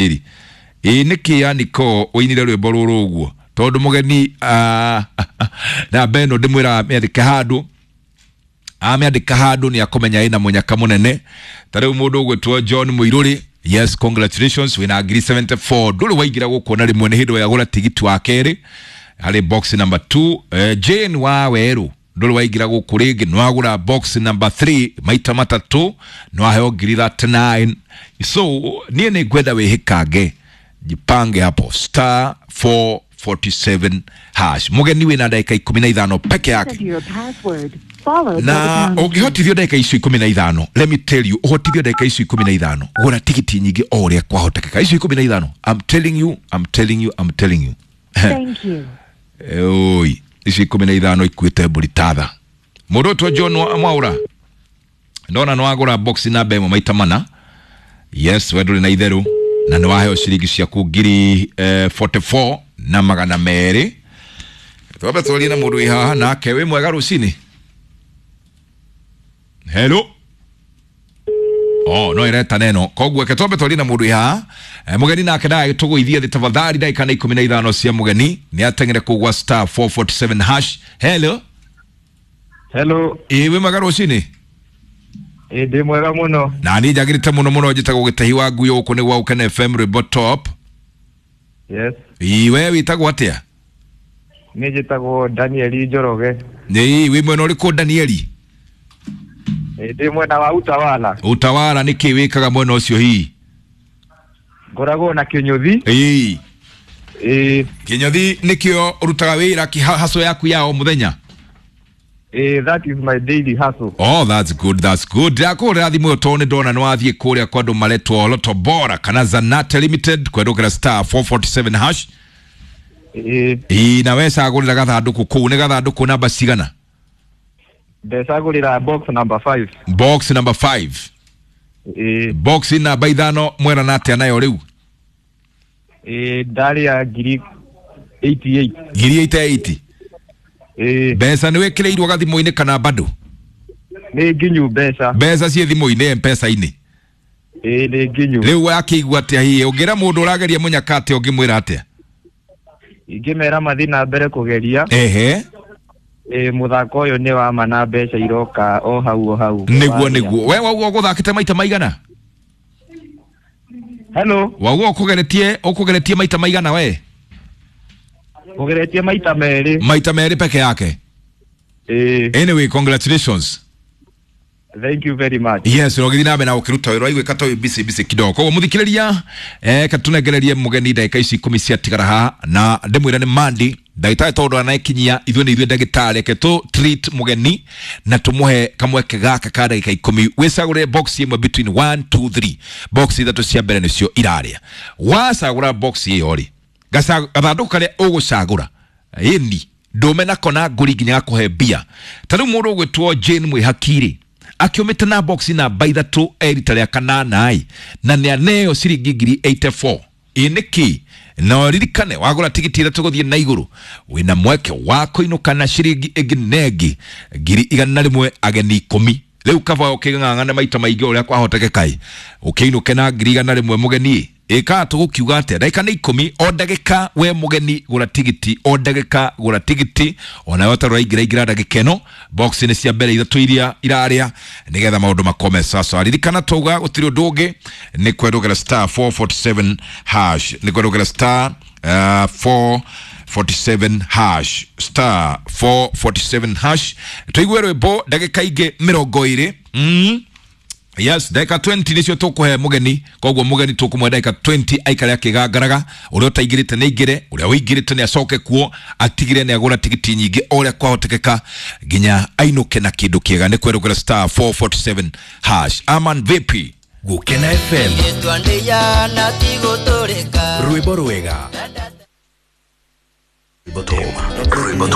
Ĩ nĩkĩ Aniko ũinire rwĩmbo rũrũ ũguo tondũ mũgeni namba ĩno ndĩmwĩraga mĩandĩke handũ, amĩandĩka handũ nĩ akũmenya ĩna mũnyaka mũnene. Ta rĩu mũndũ ũgwĩtwo John Mũirũrĩ, yes, congratulations, wĩna ngiri 74, ndũrĩ waingĩra gũkũ na rĩmwe, nĩ hĩndĩ wagũra tigiti wa kerĩ harĩ box number 2. Jane wa Werũ, ndũrĩ waingĩra gũkũ rĩngĩ, nĩ wagũra box number 3 maita matatũ, nĩ waheo ngiri 39. So niĩ nĩ ngwenda wĩhĩkange, jipange hapo star 447 hash. Mũgeni wĩna ndagĩka 15 peke yake Enter your password, followed by the na pound key. ũngĩhotithio ndagĩka icio 15, let me tell you, ũhotithio ndagĩka icio 15, gũra tigiti nyingĩ o ũrĩa kwahotekeka, icio 15, I'm telling you, I'm telling you, I'm telling you. Thank you. Oi, icio 15 ikuĩte mbũri tatha. Mũndũ ũtwo John Mwaũra, ndona nĩ wagũra box namba 1 maita mana. Yes, we ndũrĩ na itherũ na nĩ waheo ciringi ciaku ngiri 44 na magana merĩ. Twambe twarie na mũndũ wĩ haha nake. Wĩ mwega rũcinĩ? Hello. Oh, no ĩreta neno, koguo eke twambe twarie na mũndũ wĩ haha. Mũgeni nake ndagagĩtũgũithie thĩ tafadhali. Ndagĩka nĩ 15 cia mũgeni, nĩ ateng'ere kũu gwa star 447 hash. Hello. Hello, Ĩ, wĩ mwega rũcinĩ? Ĩ ndĩ mwega mũno. Na niĩ njagĩrĩte mũno mũno, njĩtagwo Gĩtahi wa Ngui, gũkũ nĩ gwa Gũkena FM, rwĩmbo top. Yes, Ĩ, we wĩtagwo atĩa? niĩ njĩtagwo Daniel Njoroge. Ĩ, wĩ mwena ũrĩkũ, Danieli? Ĩ ndĩ mwena wa Utawala. Utawala nĩ kĩ wĩkaga mwena ũcio hihi? Ngoragwo na Kĩnyũthi. Ĩ. Ĩ. Kĩnyothi nĩkĩo ũrutaga wĩra, haso yaku ya o mũthenya? Ĩ, that is my daily hustle. Oh, that's good, that's good. Ndakũhũrĩra thimũ ĩyo tondũ nĩ ndona nĩ wathiĩ kũrĩa kwa andũ maretwo Loto Bora kana Zanate Limited kwendũkĩra star 447 hash. Ĩ. Ĩ, na we cagũrĩra gathandũkũ kũu, nĩ gathandũkũ namba cigana? Ndecagũrĩra box number 5. Box number 5. Ĩ. Box namba 5, mwerana atĩa nayo rĩu? Ĩ, ndarĩa ngiri 88. Ngiri 88. Ĩ. Mbeca nĩ wĩkĩrĩirwo gathimũ-inĩ kana bado? Nĩ nginyu mbeca. Mbeca ciĩ thimũ-inĩ, mpesa-inĩ? Ĩ, nĩ nginyu. Rĩu wakĩigua atĩa hihi? Ũngĩra mũndũ ũrageria mũnyaka atĩa, ũngĩmwĩra atĩa? Ingĩmera mathiĩ na mbere kũgeria. Ehe. Ĩ, mũthako ũyũ nĩ wa ma na mbeca iroka o hau o hau. Nĩguo. Warĩa. Nĩguo we wauga ũgũthakĩte maita maigana? Hello, Wauga ũkũgeretie maita maigana we? ũgeretie maita merĩ. Maita merĩ peke yake? Ĩ. Anyway, congratulations. Thank you very much. Yes, ũgĩthiĩ na mbere na ũkĩruta wĩra, waiguĩka ta wĩ busy busy kidogo, koguo mũthikĩrĩria, katunengererie mũgeni ndagĩka ici 10 ciatigara haha, na ndĩmwĩre nĩ mandi ndagĩtarĩ tondũ anaĩkinyia ithuĩ nĩ ithuĩ ndagĩtarĩ, reke tũ treat mũgeni na tũmũhe kamweke gaka ka ndagĩka 10. Wĩcagũre box ĩmwe between 1 2 3, box ithatũ cia mbere nĩcio irarĩa. Wacagũra box ĩyo rĩ, gathandũkũ karĩa ũgũcagũra ĩni ndũme nako na ngũri nginya gakũhe mbia. Ta rĩu mũndũ ũgwĩtwo Jane Mwĩhaki-rĩ, akĩũmĩte na box namba 3 erita rĩa kanana ĩ, na nĩ aneo ciringi ngiri 84. Ĩ nĩkĩ? Na ũririkane wagũra tigiti ithatũ gũthiĩ na igũrũ, wĩna mweke wa kũinũka na ciringi ĩngĩ na ĩngĩ ngiri 100, ageni 10. Rĩu kaba ũkĩng'ang'ana maita maingĩ ũrĩa kwahotekeka ĩ, ũkĩinũke na ngiri 100, mũgeni. Ĩkaga tũgũkiuga atĩa? Ndagĩka nĩ 10, o ndagĩka we mũgeni gũra tigiti, o ndagĩka gũra tigiti, onawe ũtarĩ ũraingĩra ingĩra ndagĩka ĩno box nĩ cia mbere ithatũ iria irarĩa, nĩgetha maũndũ makome sasa. Ririkana twauga gũtirĩ ũndũ ũngĩ, nĩ kwendũkĩra star 447 hash, nĩ kwendũkĩra star 447 hash, star 447 hash. Tũigue rwĩmbo ndagĩka ingĩ 20. Yes, ndagĩka 20 nĩcio tũkũhe mũgeni, koguo mũgeni tũkũmũhe ndagĩka 20 aikare akĩgangaraga. Ũrĩa ũtaingĩrĩte nĩ aingĩre, ũrĩa ũingĩrĩte nĩ acoke kuo atigire nĩ agũra tigiti nyingĩ o ũrĩa kwahotekeka nginya ainũke na kĩndũ kĩega. Nĩ kwerũkĩra star 447 hash. Aman vipi? Gũkena FM. Rwĩmbo rwega. Rwĩmbo top. Rwĩmbo top.